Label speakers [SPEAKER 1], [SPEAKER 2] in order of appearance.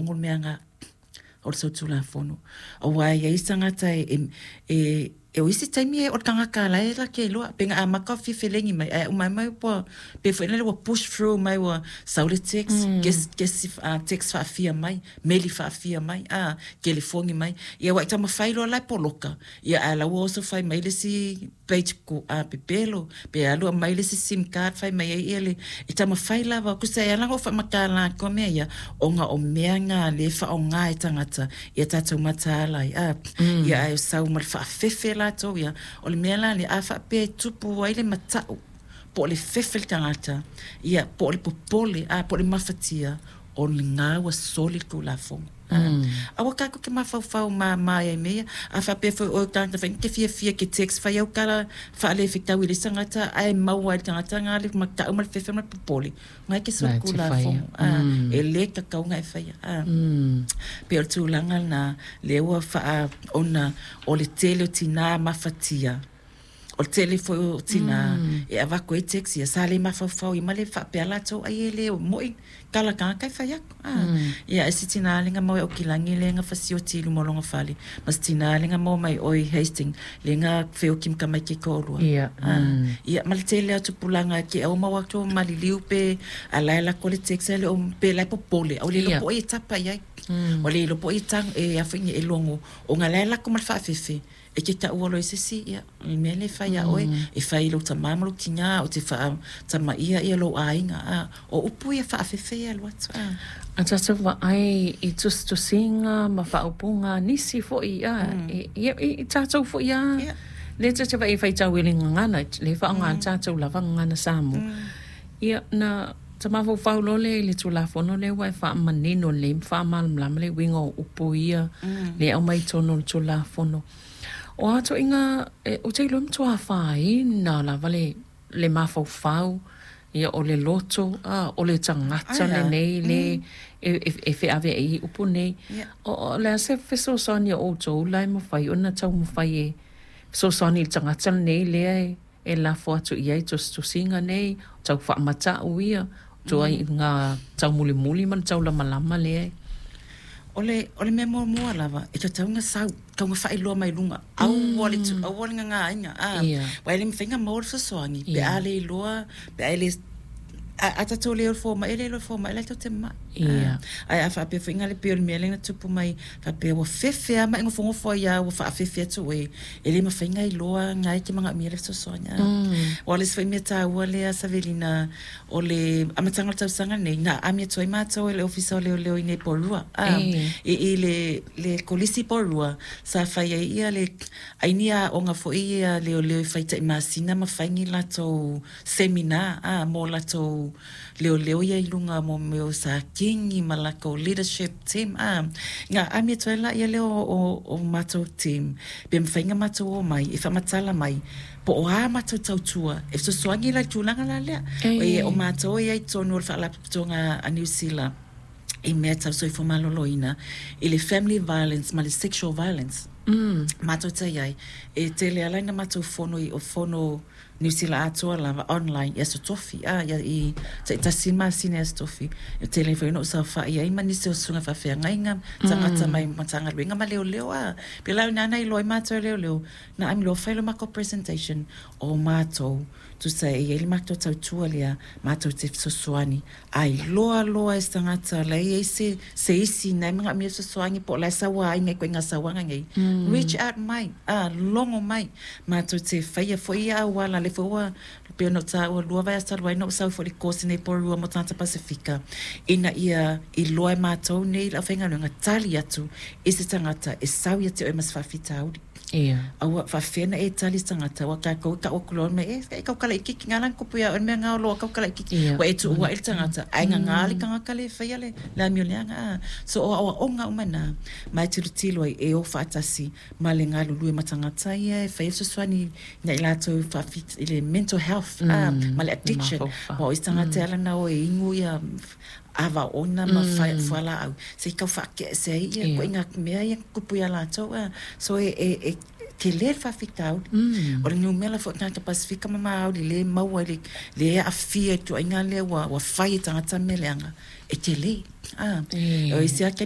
[SPEAKER 1] Tulafono le mea lena o le solitulafono. Aua e i ai tagata e o isi taimi o le tagata la e latou te iloa, pe na amata ona fia felegi mai, ae uma mai ua pei foi lele ua push through mai, ua sau le text, kesi text faafia mai, meli faafia mai, telefoni mai. Ia ua e taumafai loa la e poloka, ia ae la ua oso fai mai le isi page pepelo, pe alu aumai le isi sim card fai mai ai ia le e taumafai lava. Tusa e ala ona ou faamatala atu mea ia, ona o mea na lea e faaaoga e tagata ia tatou mataala ai. Ia ae sau ma le faafefe latou ia. O le mea la lea, a faapea e tupu ai le matau, po o le fefe le tagata, ia po o le popole, po o le mafatia, o lena ua soli le Tulafono. Aua tatou te mafaufau mama ai i mea ia. A faapea foi o oe o le tagata foi e te fiafia e te text fai au tala faalefetau i le isi tagata ae maua ai e le tagata lena le matau ma le fefe ma le popole, na e te soli Tulafono. E le tatau ona e faia. Pei o le tulaga lena lea ua faa ona o le tele o tina mafatia, o le tele foi o tina e avatu ai text ia, sa le mafaufau ai ma le faapea latou ai e le moi tala tagata e fai atu. Ia e si tina lea na maua i Aukilani lea na fasioti i luma o lona fale, ma si tina lea na maua mai o i Hastings lea na feoti ma tamaiti e toalua. Ia ma le tele o tupulaga e ke au mau atu o maliliu pe a la e lako le text ae le o pe la e popole ae ua le iloa po o ai e tapa i ai. Ua le iloa po o ai e e a foi e logo ona la e lako ma le faafefe. E te taua loa i se isi, ia, o le mea lea e fai ia oe, e fai i lou tama ma lou tina, ou te faatamaia ia lou aiga, a, o upu ia faafefe ia e alu atu, a.
[SPEAKER 2] A tatou vaai i tusitusiga ma faaupuga a nisi foi, a, ia, i tatou foi lava, lea ta te vaai e faitau i le gagana, lea e faaaoga le tatou lava gagana Samoa. Ia, na ta mafaufau loa lea i le Tulafono lea ua e faamanino lelei ma faamalamalama le uiga o upu ia lea e aumai i totonu o le Tulafono. O a ituaiga, ou te iloa e matua afaina lava le, le mafaufau, ia, o le loto, a, o le tagata lenei le e feaveai i upu nei. O le a se fesoasoani a outou la e mafai ona taumafai e fesoasoani i le tagata lenei lea e e lafo atu i ai tusitusiga nei, o tau faamata'u ia, o ituaiga taumulimuli ma le taulamalama lea e.
[SPEAKER 1] O le, o le mea muamua lava, e tatau ona sau, tatau ona faailoa mai luga, aua le tu, aua le gagāina, a, aua e le mafai ona maua le fesoasoani pe a le iloa, pe a e le, a, a tatou le o i le fomai, e le iloa e le fomai la e tatou te ma'i. Ae a faapea foi na le pei o le mea lea na tupu mai, faapea ua fefe lava ma e nofonofo ai lava ua faafefe atu oe, e le mafai ona iloa na e te manaomia le fesoasoani. Aua o le isi foi mea taua lea Savelina, o le amataga o le tausaga lenei, na aami atu ai matou e le Ofisa o Leoleo i inei i Porirua, i le Kolisi i Porirua, sa fai ai ia le ai ni aoga foi ia a leoleo e fai tai masina ma fai ni latou seminar mo latou leoleo ia i luga mo mea o Sākini ma latou leadership team a na aami atu ai laia lea o matou team pe mafai ona matou omai e faamatala mai po o a matou tautua e fesoasoani la i le tulaga la lea. O matou e i ai i totonu o le Faalapotopotoga a Niu Sila i mea tau soifua maloloina i le family violence ma le sexual violence matou te i ai. E tele lava la ina matou fono i fono Niu Sila atoa lava online i Aso Tofi, a ia i taitasi masina i Aso Tofi. E tele foi ona ou saofai ai ma nisi o susuga faafeagaiga, tagata mai Matagaluega ma leoleo, a. Pela ina na iloa ai matou e leoleo, na ami loa fai lo matou presentation o matou, tusa e i ai le matou tautua lea, matou te fesoasoani a iloa loa e se tagata la e i ai se se isi na e manaomia fesoasoani po o la e sauaina i ituaiga sauaga nei, reach out mai, a, logo mai. Matou te faia foi ia auala, lea foi ua pei ona ou taua lua vaiaso talu ai na ou sau foi i le course nei Porirua mo tagata Pasefika, ina ia iloa e matou nei le aufaigaluega tali atu i se tagata e sau ia te oe ma se faafitauli.
[SPEAKER 2] Ia.
[SPEAKER 1] Aua, faafefea ona e tali i se tagata, aua tatou e tau atu loa mai, e, e tautala itiiti, na ala ona tupu ia oe le mea na, loa tautala itiiti.
[SPEAKER 2] Ia.
[SPEAKER 1] Ua e tuuai le tagata, ae gagā le tagata lea e faia le amio leaga, a. So, o aoaoga uma na, ma e tilotilo ai, e o faatasi ma le galulue ma tagata ia e faia fesoasoani ia i latou i le mental health, a, ma le addiction. Aua o isi tagata e ala ona o e inu ia ava oona ma fualaau, se i tau faatea ese ai ia ituaiga mea ia na tutupu ia latou, a. So, e tele le faafitauli. O le numera foi o tagata Pasefika ma Māori lea e maua i le, lea e aafia i le ituaiga lea ua fai e tagata mea leaga, e tele. A. O isi lava taimi